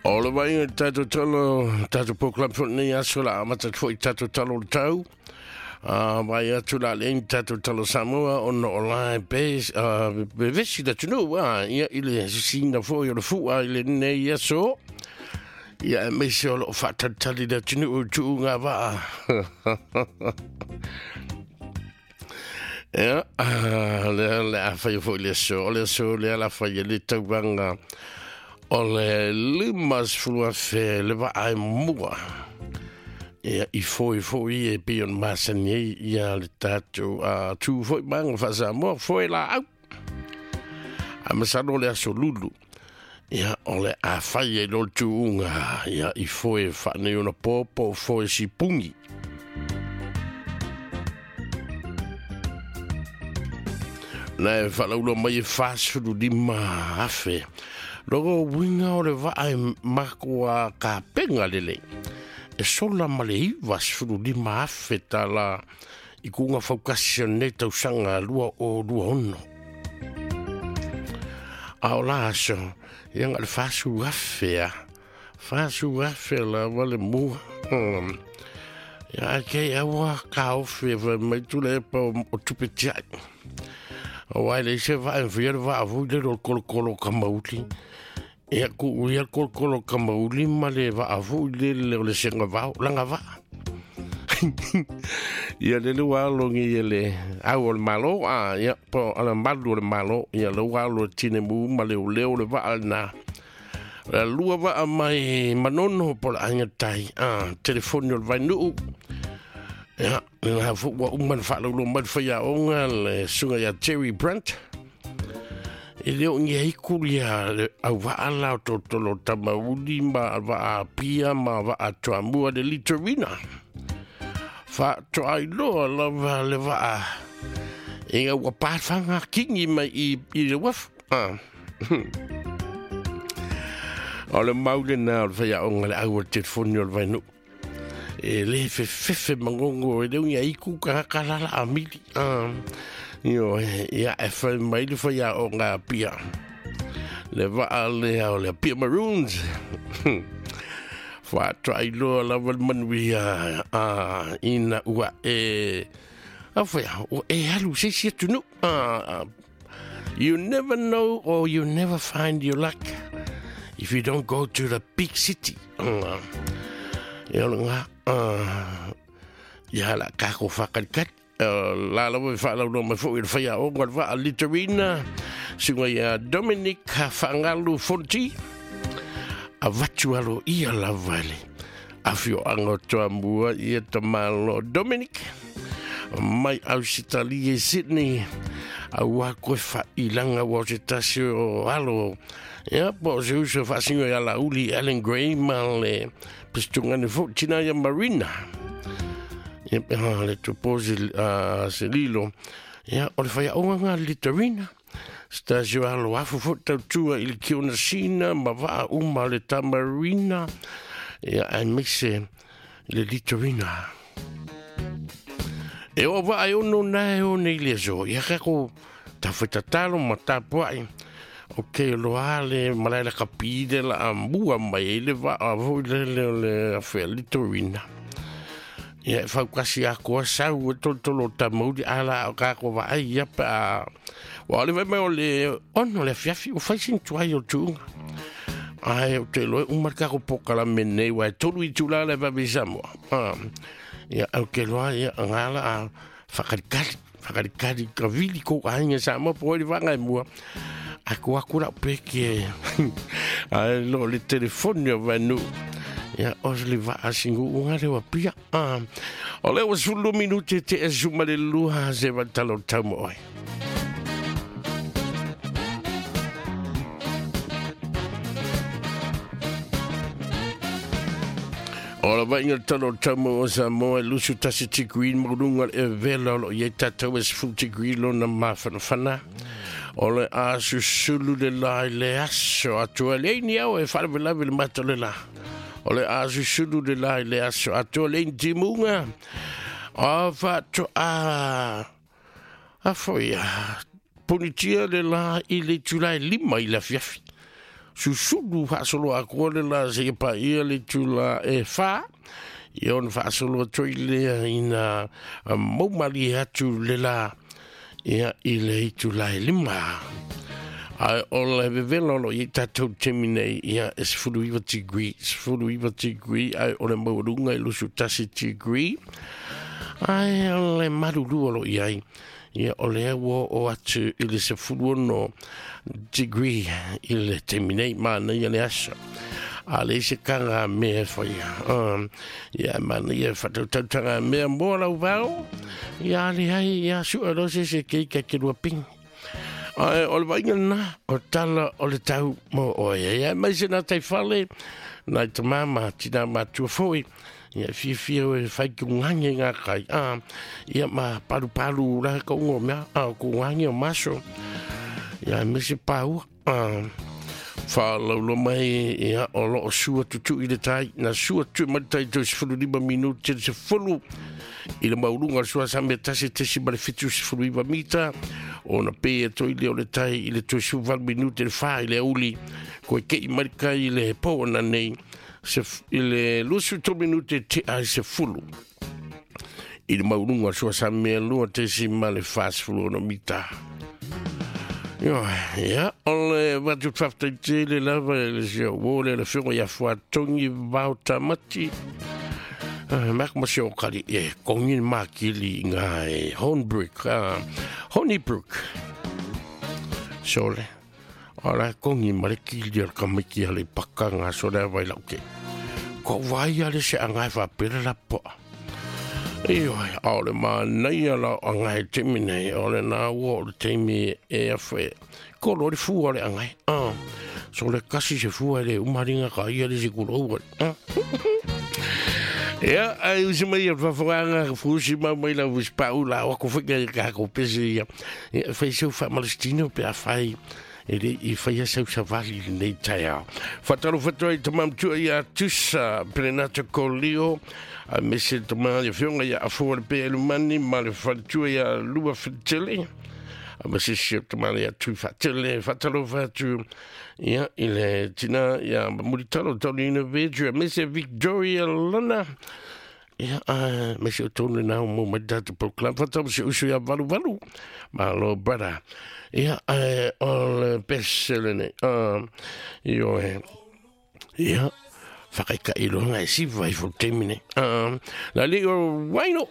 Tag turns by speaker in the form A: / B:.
A: O le vaaiga i le tatou tala, tatou program foi lenei aso la amata atu foi i tatou tala o le tau. Vaai atu la le tatou tala Samoa ona o la e vevesi le atunuu ia i le sisiina foi o le fua i lenei aso. Ia aemaise o loo faatalitali le atunuu i tuuga vaa. Ia, lea le a faia foi le aso, o le aso lea la faia le tauvaga o le 50,000 le vaa e mua. Ia, i foi foi e pei ona masani ai ia le tatou tu foi maga faa-Samoa, foe laau. A masalo le aso lulu. Ia, o le a fai ai lo le tuuga, ia, i foe faanei ona popo, foe sipungi. Na e whalaula mai e 45,000. Logo winga o le vaa e makoa ka penga lele. E sola ma le 95,000 tala i kuunga faukasi o nei tausaga 2026. A o la aso, ia nga le 40,000 a. 40,000 la wale mua. Ia kei aua ka ofe fa mai tule e pa o tupe tiai. O ai le se va e fia le va fu le ro kolo kolo ka mauli. Ia ku ia kolo kolo ka mauli ma le va fu le le o le senga vao langa va. Ia le le wa lo ngi ia le au o le malo a ia po ala malu o le malo ia le wa lo tine mu ma le o leo le va na. La lua va mai manono po la anga tai a telefoni o le vainuu. Ia, le fu ua uma na whaalaulo mai le whaia onga le sunga ia Jerry Brandt. E leo ngi ai kulia le au vaala o totolo tamauli ma waa pia ma waa tuamua le litorina. Wha toa iloa lava le waa. Inga ua pāwhanga kingi mai i le wafu. O le maule na o le whaia onga le au o le telefoni o le vainuu. E le fefe mangongo e leo ia iku ka kalala a mili. Io, ia e whai mai le whaia o ngā pia. Le waa lea o le Apia Maroons. Wha iloa lava le manuia ina ua e... A whaia, ua e alu se si atunu. You never know or you never find your luck if you don't go to the big city. Ia o ngā... Ia la kako whakarikat. La lawa i whaalaulo mai fo i le whaia o ngā waa Litorina. Sunga ia Dominic Whangalu Fonti. A vatu alo ia lava le. Awhio anga toa mua ia tamalo Dominic. Mai Ausitalia i Sydney. A ua koe whailanga wa o te tasi o alo. Ia po o se uso whaasingo ia la uli Alan Gray ma le pistungane fo tina ia Marina. Ia peha le tuposi se lilo. Ia o le whaia onga ngā Litorina. Stasio alo afu fo tautua i le kiona sina ma waa uma le tamarina. Ia aemaise le Litorina. E o waa e ono nae o nei le aso. Ia kako tawhetatalo ma tapuai. O ke loa le malaila kapide la ambua mai e le waa fo i le le o le awhea Litorina. Ia e whaukasi a koa sau e tolotolo tamauri ala o kako vaai ia pa a... Wa ole vai mai o le ono le fiafi o whaisin tuai o tuunga. Ai o te loe umar kako pokala menei wa e tolu i tula le vavi Samoa. Ia au ke loa ia ngala a whakarikari, whakarikari ka vili ko ainga Samoa po le wanga e mua. Aku aku la peke. Ai lo le telefoni o vanu. Ia o le vaa singu unga le wapia. O le wasulu minute te e suma le luha se watalo taumo oi. O la vainga talo taumo o Samoa e lusu tasi tikuin maulunga e vela o lo ia tatau e sfu tikuin lona mawhanawhana. O le a susulu le la i le aso atua le ni au e wharawelawe le mata le la. O le a susulu le la i le aso atua le ni timunga. O whato a foia punitia le la i le tulai 5 i la fiafi. Susulu faasoloa atu le la seia paia le itulā e 4, ia ona faasolo atu ai lea ina maumalie atu le la ia i le itulā e 5. Ae o le vevela o lo o i ai tatou i le taimi nei, ia e 19 degree, 19 degree, ae o le maualuga e 21 degree. Ae o le malulu o lo o i ai, ia o lea ua oo atu i le 16 degree i le taimi nei, manaia le aso. A leai se taga mea e faia. Ia manaia e faatautau taga mea mo lau vao. Ia a leai, ia sue loa se isi e keika e ke lua pigi. Ae o le vaaiga lena, o tala o le tau mo oe. Ia mai se nā tai fale, nai tamā ma tinā matua foi. Ia fiafia oe e whai ku ngange ngā kai. Ia ma palu palu la ka ungo mea, ku ngange o maso. Ia me se pāua. Whaalaulo mai, ia, o lo o sua tutu i le tai, na sua tutu mai le tai tau 15 minute te 10 i le maulunga o le sua sa mea tasi tesi ma le 79 mita, ona pe e toi lea o le tai i le toi 18 minute le 4 i le auli, koe kei mai le kai i le po ona nei, se, i le 23 minute te ai se fulu. I le maulunga o le sua sa mea lua tesi ma le 46 mita. Ioe, ia, o le avatu faafetai tele lava i le sia uo le le afioga ia Fuatongi Vao Tamati. Mako ma se o kali e kongi ni makili i ngā e Hornbrook, Honeybrook. Sole, o la kongi ma le kili o le kamiki a le paka ngā sole a vai lau ke. Ko vai a le se angai whapera la poa. Ioe, ʻaʻole manaia la o ʻAgae i le taimi nei, ʻaʻole nā ua o le taimi e afe kolo le fua o le ʻAgae. So le kasi se fua e le umaringa ka ia le se kuro ua. Ia, ai usi mai ia fafoganga fusi mau mai la fusi pau la o ako whai ka ko pese ia. Ia, whai seu wha malestino pe a whai e le i whai sau savali i lenei taeao. Whatalo whatua i tamamtua ia Tusa Perenata Kolio, a mese tama ia whionga ia Afoa le Pe Elumani ma le whaletua ia Lua Whitele. A mese si o tama ia Tui Whatele, whatalo whatu ia i le tina ia Muritalo Tolina Veju, a mese Victoria Lana. Ia, me se o tonu nā o mō mai tātou pau club. Whatau se usu ia valu valu. Malo, brother. Ia, o le best le nei. Io e. Ia, whakaika i loa ngai siwa i fo taimi nei. La li o waino.